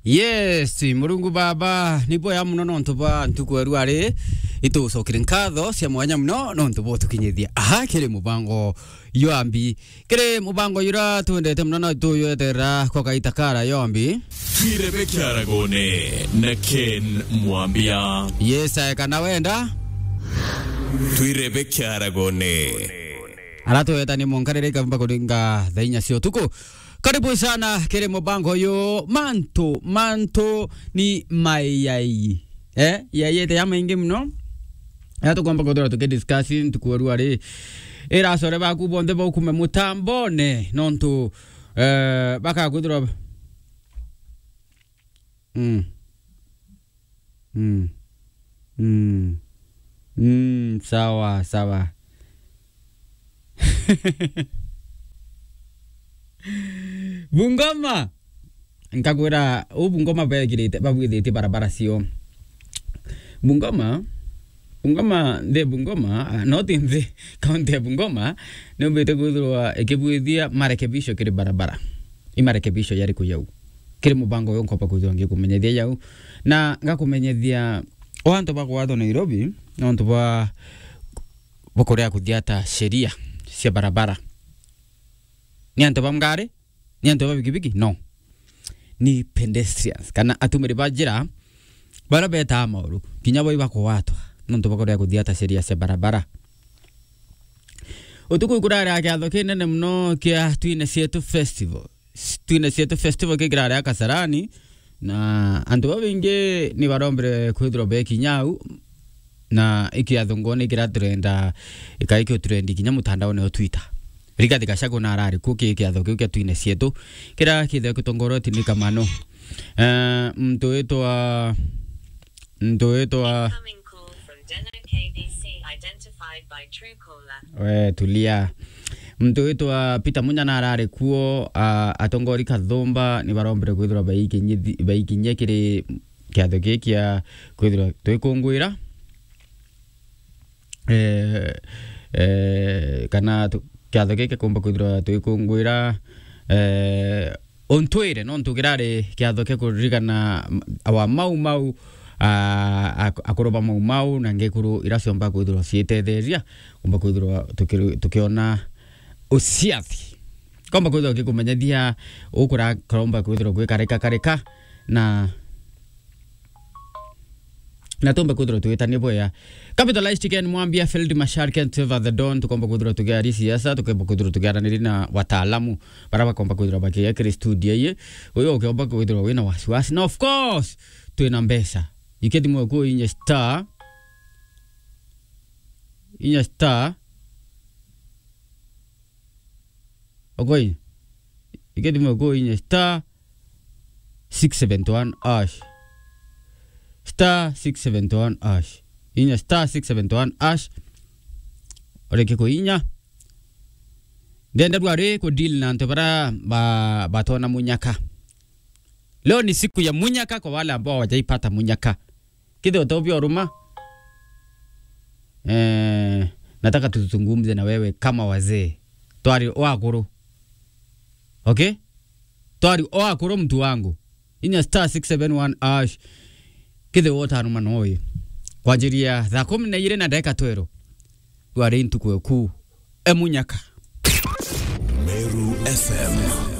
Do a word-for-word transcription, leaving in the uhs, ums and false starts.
Yes, Murungu Baba, ni bwega muno nontu bwa ntuku ya rua ri, itucokire nkatho cia mwanya muno nontu bwa utukinyithia aha kiri mubango yambi. Kiri mubango yura twendete muno na tuyweterera kwa kaita kara yombi. Twirebe kiaragone na Ken Mwambia. Yes, ae kana wenda. Twirebe kiaragone. Aratweta ni monkarere ikamba kuringa thaa inya cia utuku. Karibu sana kiri mubango uyu. Mantu, mantu ni mayai. Eh, yayete ya maingi muno. Ya tukwamba kuthura tukidiscuss ntuku ya rua ri. Ira acore baku bonthe baukume mutambone nontu, eh, bakakwithirwa. Mm. Mm. Mm. Mm, sawa, sawa. Bungoma. Nkakwira, u Bungoma begirite, babwithitie barabara cio. Bungoma, Bungoma, nthi ya Bungoma, ah, not nthi, kaunti ya Bungoma, niumbite kwithirwa ikibwithia marekebisho kiri barabara. I marekebisho yariku yau? Kiri mubango uyu nkomba kwithirwa ngikumenyethia yau. Na ngakumenyethia o antu bagwatwa Nairobi, nontu bwa, bwa kuria kuthiata sheria cia barabara. Ni antu ba ngari? Ni antu ba bikibiki? No. Ni pedestrians, kana atumiri ba njira, baria betaa mauru, kinya bo ibakugwatwa, nontu bakorea kuthiata sheria cia barabara. Utuku ikurari ya kiatho kinene muno kia Twine Cietu Festival. Twine Cietu Festival kikirari a Kasarani, na antu babaingi ni barombere kwithirwa bekinya au, na ikiatho ngone kira turenda, ikai kio turendi kinya mutandaone o Twitter. Rigathi Gachagua na arari kuo ki kiatho kiu kia Twine Cietu, kira kitheo kitongoroti ni Kamano. Eh, mtu witwa, mtu witwa Incoming call from Deno K B C identified by Truecaller. We, tulia. Mtu witwa Peter Munya na arari kuo, a, atongori Kathumba ni barombere kwithirwa baikinyithi-, baikinyia kiri kiatho giki kia kwithirwa twikungwira. Eh, eh, kana tu-, kiatho giki kumba kwithirwa twikungwira, eh, untwire, nontu kirari kiatho kia kuririkana m-, awa Mau Mau, a, a, akuru ba Mau Mau, na ngekuru ira ciomba kwithirwa ciitetheria, kumba kwithirwa tuki-, tukiona uciathi. Komba kwithirwa gikumenyethia ukura karomba kwithirwa gwikarika karika, na, na tumbe kwithirwa twitania bwea. Capitalized Ken Mwambia, Field Marshal Ken Trevor the Don, tukomba kwithirwa tukiaria siasa, tukomba kwithirwa tukiaraniri na wataalamu bara bakomba kwithirwa bakiya kiri studio iyi. Uyu ukiomba kwithirwa wina wasiwasi. Na of course, twina mbeca. Iketi mwe ku inye star, inye star, Okoi. Iketi mwe ku inye star six seventy one hash. Star six seventy one hash. Inye star six seventy one hash. Oreke ku inya. Ndenda rua ri ku deal na antu bara ba, batona munyaka. Leo ni siku ya munyaka kwa wale ambao hawajaipata munyaka. Kithio utobia uruma. Eh, nataka tuzungumze na wewe kama wazee. Twari o akuru. Okay? Twari o akuru, mtu wangu. Inya star six seven one hash. Kithio utanuma noe. Kwanjiria thaa kumi na igiri na ndagika twero. Rwari ntuku eku. E munyaka. Meru F M.